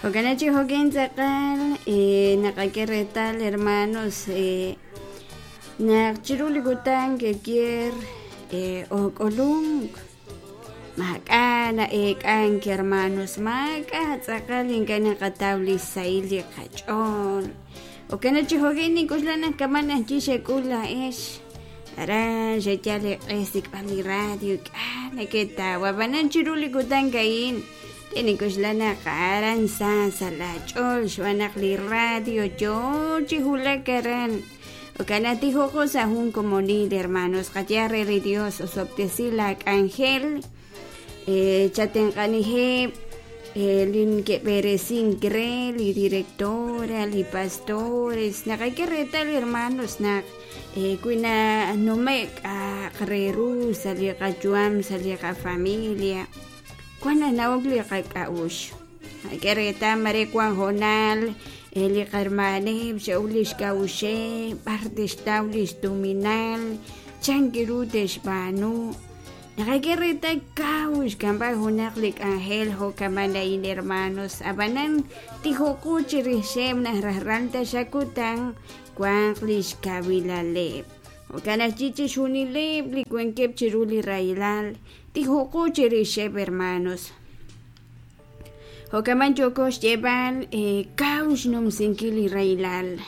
Jo'kan chi jo'kin tz'aqal naqak'e reetal hermanos naq chiru li kutan ke'kier ook'ulunk maak'a' na'eek'ank hermanos maak'a' tz'aqal ink'a' naqataw li xsahil li qach'ool jo'kan chi jo'kin nink'oxla naq kama' ajwi' xek'ul laa'ex aran xeyal eeq'e xsik'b'al li radio k'a' neketaw ab'anan chiru li kutan a'in Nink'oxla naq aran sa sa' laach'ool xb'aan naq li radio yoo chi wulak aran. Jo'kan naq tijoqo sa' jun komonil, hermanos. Qaye re li Dios osob'tesi laak'anjel, chatenq'aniheb' li neke'b'eresink re, li directora, li pastores. Naqak'e reetal, hermanos, naq wi nanume'k k'a'aq re ru sa' li qayu'am, sa' li qafamilia, Wan nanawok li qak'a'uxl. K'e reetal mare wan hoonal li qarmaaneb' xe'ok li xk'a'uxeb' b'ar te'xtaw li xtuminal, chan ru te'xb'aanu. Naqak'e reetal kaw xk'amb'al junaq li k'anjel jo' kama'an a'in hermanos, ab'anan tijoqu chirixeb' naq rajlal taxaq kutan wanq li xkawilaleb'. Jo'kan ajwi' chixjunileb' li wankeb' chiru li rahilal Tijoqo chirixeb' hermanos. Jo'kan yooko xyeeb'al kaw xnumsinkil li rahilal.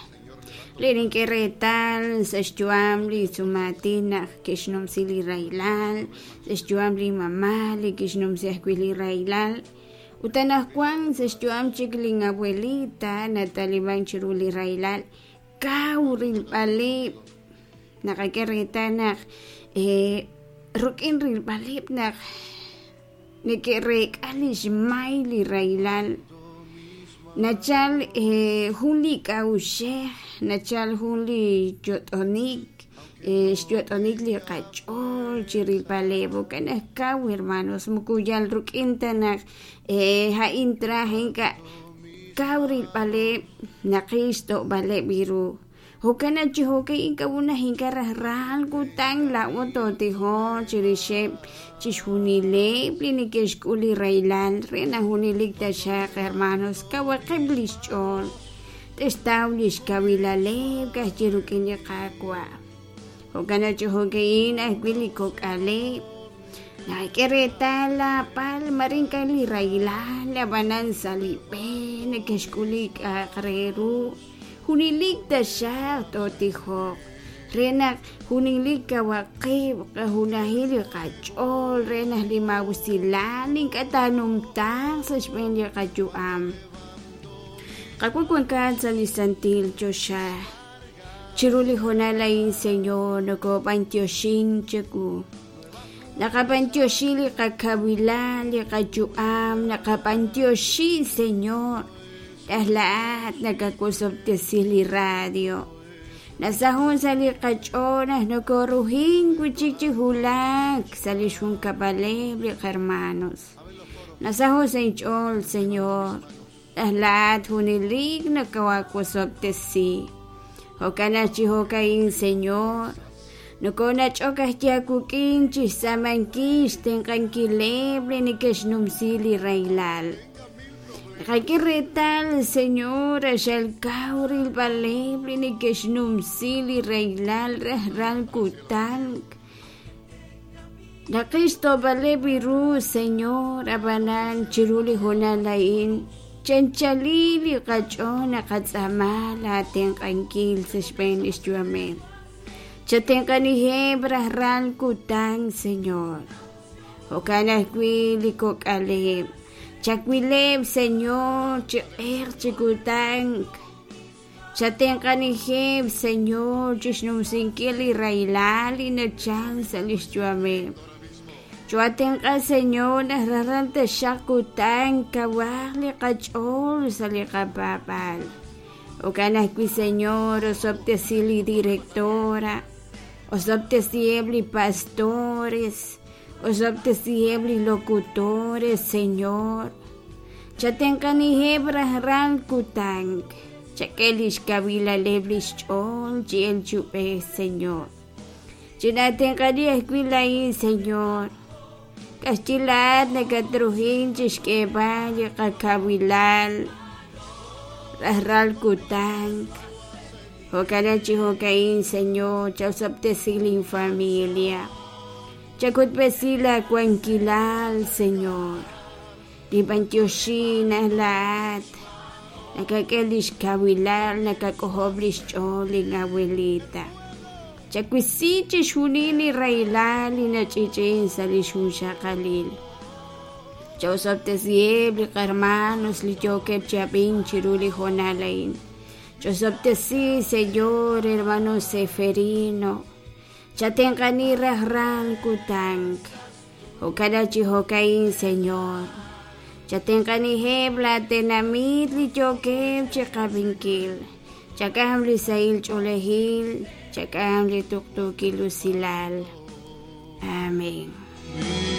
Li nink'e reetal sa' xyu'am li sumaatin naq ke'xnumsi li rahilal, sa' xyu'am li mamá li kixnumsi ajwi' li rahilal. Ut anaqwan sa' xyu'am chik lin abuelita nataliman chiru li rahilal, kaw rilb'aleb' naqak'e reetal naq rik'in rilb'aleb' naq neke'reek'a li xmay li rahilal nachal jun li k'a'uxej nachal jun li yot'onik xyot'onik li qach'ool chi rilb'aleb' jo'kan naq kaw hermanos moko yal rik'in ta naq a'in traj ink'a' kaw rilb'aleb' naqil xto'b'aleb' ru Jo'kan naq chi jo'ka'in k'a'ut ink'a' rajlal kutan laa'o tootijoq chirixeb' chixjunileb' li neke'xk'ul li rahilal re naq junelik taxaq hermanos kawaqeb' li xch'ool, te'xtaw li xkawilaleb' ka'ajwi' rik'in li Qaawa'. Jo'kan naq chi jo'ka'in ajwi' li kok'aleb' nak'e reetal laapal mare ink'a' li rahilal ab'anan sa' li b'e neke'xk'ul li k'a'aq re ru. Junelik taxaq tootijoq re naq junelik kawaq qib', qajunajil li qach'ool re naq li maa'usilal ink'a' taanumtaaq sa' xb'een li qayu'am. Qaawa' wankat sa' li santil choxa, chiru li hoonal a'in, Señor, nokoob'antioxink chawu. Naqab'antioxi li qakawilal, li qayu'am, naqab'antioxi, Señor. Taj laa'at nakawosob'tesi li radio. Nasahun sa' li qach'ool naq nokoruhin wi' chik chi wulak sa' li xjunkab'aleb' li qahermanos. Nasaho' sa' inch'ool, Señor, taj laa'at junelik nakawosob'tesi. Jo'kan naq chi jo'ka'in, Señor, nokonach'ok ajwi' aawik'in chixtz'aamankil xtenq'ankileb' li neke'xnumsi li rahilal. Naqak'e reetal, Señor, q'axal kaw rilb'aleb' li neke'xnumsi li rahilal rajlal kutan. Naqil xto'b'aleb' ru, Señor, ab'anan chiru li hoonal a'in chanchalil li qach'ool naqatz'aama laatenq'ankil sa' xb'een li xyu'ameb'. Chatenq'aniheb' rajlal kutan, Señor. Jo'kan ajwi' li kok'aleb'. Chawileb', Señor, chi q'eq chi kutan. Chatenq'aniheb', Señor, chi xnumsinkil li rahilal li nachal sa' li xyu'ameb'. Choohatenq'a, Señor, naq rajlal taxaq kutan kawaq li qach'ool sa' li qapaab'aal. Jo'kan ajwi', Señor, osob'tesi li directora, osob'tesiheb' li pastores, Osob'tesiheb' li locutores, Señor. Chatenq'aniheb' rajlal kutan. Chak'e lix kawilaleb' lix ch'ool chi elk chi ub'ej, Señor. Chinaatenq'ani ajwi' laa'in, Señor. K'axyi laa'at nakatruhin chixk'eeb'al li qakawilal. Rajlal kutan. Jo'kan chi jo'ka'in, Señor, chaosob'tesi lin familia. Chak'utb'esi la wankilal, Señor. Ninb'antioxi naq laa'at nakak'e lix kawilal, nakak'ojob' lix ch'ool lin abuelita. Chawisi chixjunil li rahilal li nach'i'ch'i'in sa' lix junxaqalil. Chaosob'tesiheb' li qarmanos li yookeb' chi ab'ink chiru li hoonal a'in. Ch'osob'tesi, Señor, hermano Seferino. Chatenq'ani rajlal kutan. Jo'kan chi jo'ka'in, Señor. Chatenq'aniheb' laa tenamit li yookeb' chiqab'inkil. Chak'am li sahil ch'oolejil, chak'am li tuqtuukil usilal. Amén.